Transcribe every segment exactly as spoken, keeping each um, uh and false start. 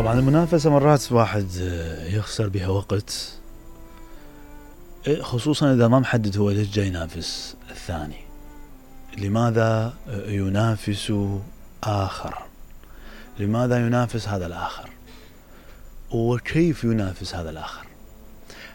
طبعا المنافسة مرات واحد يخسر بها وقت، خصوصا إذا ما محدد هو ليش جاي ينافس الثاني، لماذا ينافس آخر، لماذا ينافس هذا الآخر، وكيف ينافس هذا الآخر.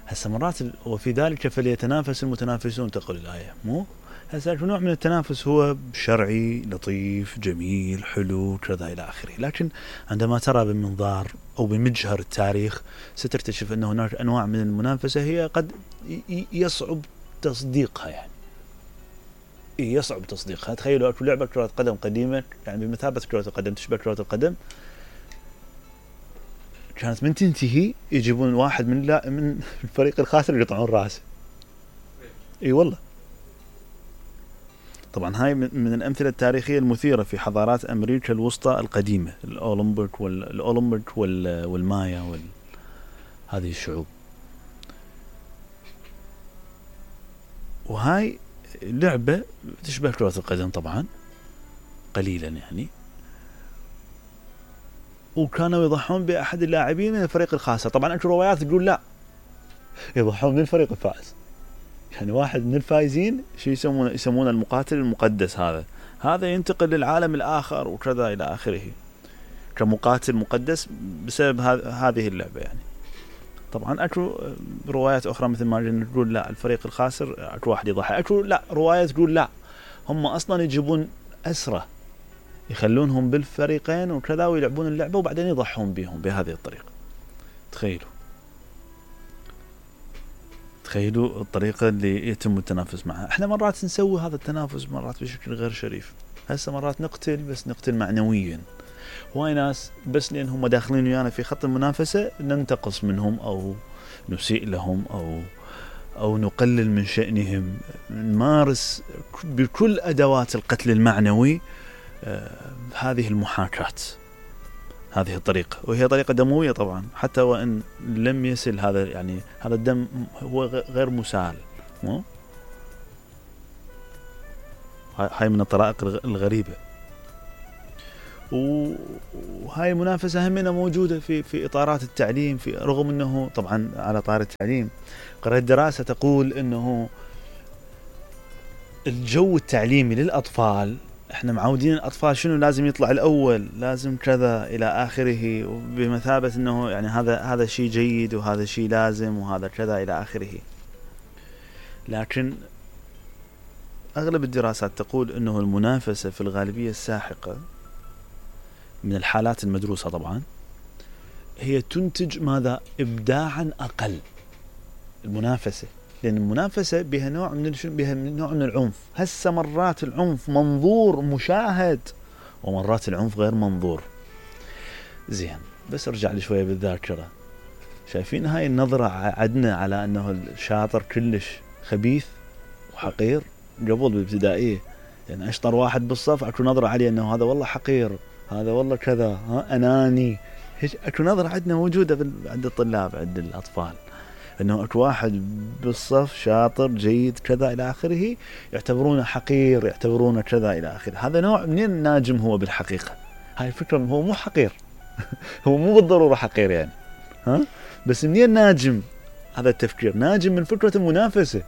هسه مرات وفي ذلك فليتنافس المتنافسون تقول الآية، مو هسه نوع من التنافس هو شرعي لطيف جميل حلو كذا إلى آخره، لكن عندما ترى بمنظار أو بمجهر التاريخ ستكتشف أن هناك أنواع من المنافسة هي قد يصعب تصديقها، يعني يصعب تصديقها. تخيلوا أكو لعبة كرة قدم قديمة يعني بمثابة كرة القدم تشبه كرة القدم، كانت من تنتهي يجيبون واحد من لا من الفريق الخاسر يقطعون راسه. اي والله. طبعا هاي من الأمثلة التاريخية المثيرة في حضارات أمريكا الوسطى القديمة، الأولمبيك والأولمبيك والمايا وال هذه الشعوب. وهاي لعبة تشبه كرة القدم طبعا قليلا يعني، وكانوا يضحون بأحد اللاعبين من الفريق الخاسر. طبعا أكو روايات تقول لا، يضحون من الفريق الفائز، يعني واحد من الفائزين شو يسمونه يسمونه المقاتل المقدس، هذا هذا ينتقل للعالم الآخر وكذا إلى آخره كمقاتل مقدس بسبب هذه اللعبة يعني. طبعا أكو روايات أخرى مثل ما تقول لا الفريق الخاسر أكو واحد يضحي، أكو لا روايات تقول لا هم أصلا يجيبون أسرة يخلونهم بالفريقين وكذا ويلعبون اللعبة وبعدين يضحون بهم بهذه الطريقة. تخيلوا تخيلوا الطريقة اللي يتم التنافس معها. احنا مرات نسوي هذا التنافس مرات بشكل غير شريف. هسه مرات نقتل بس نقتل معنويا، وهاي ناس بس لأنهم داخلين ويانا في خط المنافسة ننتقص منهم أو نسيء لهم أو أو نقلل من شأنهم، نمارس بكل أدوات القتل المعنوي آه هذه المحاكاة، هذه الطريقة، وهي طريقة دموية طبعا حتى وإن لم يصل هذا يعني هذا الدم هو غير مسال. مو هاي من الطرائق الغريبة. وهاي المنافسة همنا موجودة في في إطارات التعليم، في رغم أنه طبعا على طار التعليم قرأت دراسة تقول أنه الجو التعليمي للأطفال احنا معودين الأطفال شنو لازم يطلع الأول لازم كذا إلى آخره، بمثابة أنه يعني هذا هذا شيء جيد وهذا شيء لازم وهذا كذا إلى آخره. لكن أغلب الدراسات تقول أنه المنافسة في الغالبية الساحقة من الحالات المدروسة طبعا هي تنتج ماذا؟ إبداعا أقل. المنافسة لأن المنافسة بها نوع من بها نوع من العنف. هسه مرات العنف منظور مشاهد ومرات العنف غير منظور. زين بس ارجع لي شوية بالذاكرة، شايفين هاي النظرة عدنا على أنه الشاطر كلش خبيث وحقير قبل بالابتدائية، يعني أشطر واحد بالصف أكو نظرة عليه أنه هذا والله حقير هذا والله كذا ها أناني، أكو نظرة عندنا موجودة عند الطلاب عند الأطفال أنه أكو واحد بالصف شاطر جيد كذا إلى آخره يعتبرونه حقير يعتبرونه كذا إلى آخره. هذا نوع من الناجم هو بالحقيقة. هاي الفكرة هو مو حقير هو مو بالضرورة حقير يعني ها، بس منين ناجم؟ هذا التفكير ناجم من فكرة المنافسة،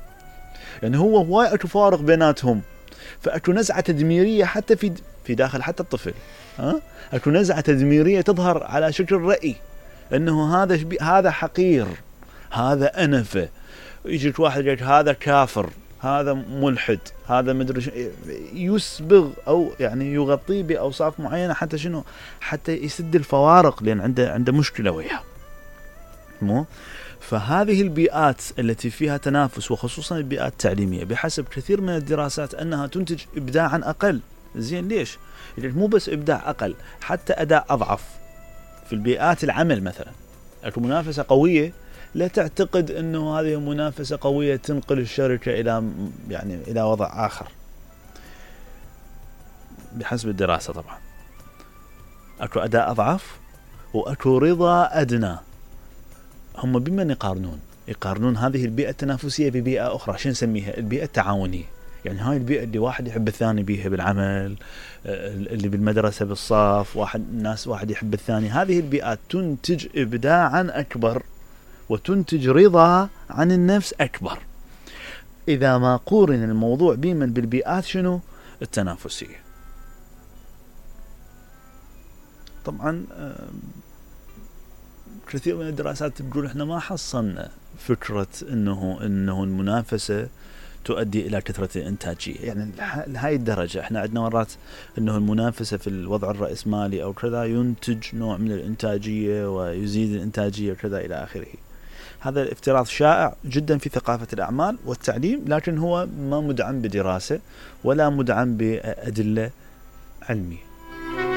يعني هو هواي أكو فارق بيناتهم، فأكو نزعة تدميرية حتى في في داخل حتى الطفل ها، أكو نزعة تدميرية تظهر على شكل رأي أنه هذا هذا حقير هذا أنفة، يجيك واحد يقول هذا كافر هذا ملحد هذا مدري يسبغ أو يعني يغطيه بأوصاف معينة حتى شنو حتى يسد الفوارق لأن عنده عنده مشكلة وياه. مو فهذه البيئات التي فيها تنافس وخصوصا البيئات التعليمية بحسب كثير من الدراسات أنها تنتج إبداعا أقل. زين ليش؟ لأن مو بس إبداع أقل حتى أداء أضعف. في البيئات العمل مثلا أكو منافسة قوية، لا تعتقد أنه هذه منافسة قوية تنقل الشركة إلى يعني إلى وضع آخر بحسب الدراسة. طبعا أكو أداء أضعف وأكو رضا أدنى. هم بمن يقارنون؟ يقارنون هذه البيئة التنافسية ببيئة أخرى، شو نسميها؟ البيئة التعاونية. يعني هاي البيئة اللي واحد يحب الثاني بيها بالعمل، اللي بالمدرسة بالصف، واحد الناس واحد يحب الثاني، هذه البيئات تنتج إبداعا أكبر وتنتج رضا عن النفس أكبر إذا ما قورن الموضوع بيمن بالبيئات شنو التنافسية. طبعا كثير من الدراسات تقول احنا ما حصلنا فكرة انه انه المنافسة تؤدي الى كثرة الانتاجية، يعني لهاي الدرجة احنا عندنا مرات انه المنافسة في الوضع الرأسمالي او كذا ينتج نوع من الانتاجية ويزيد الانتاجية وكذا الى اخره. هذا الافتراض شائع جدا في ثقافة الاعمال والتعليم، لكن هو ما مدعم بدراسة ولا مدعم بأدلة علمية.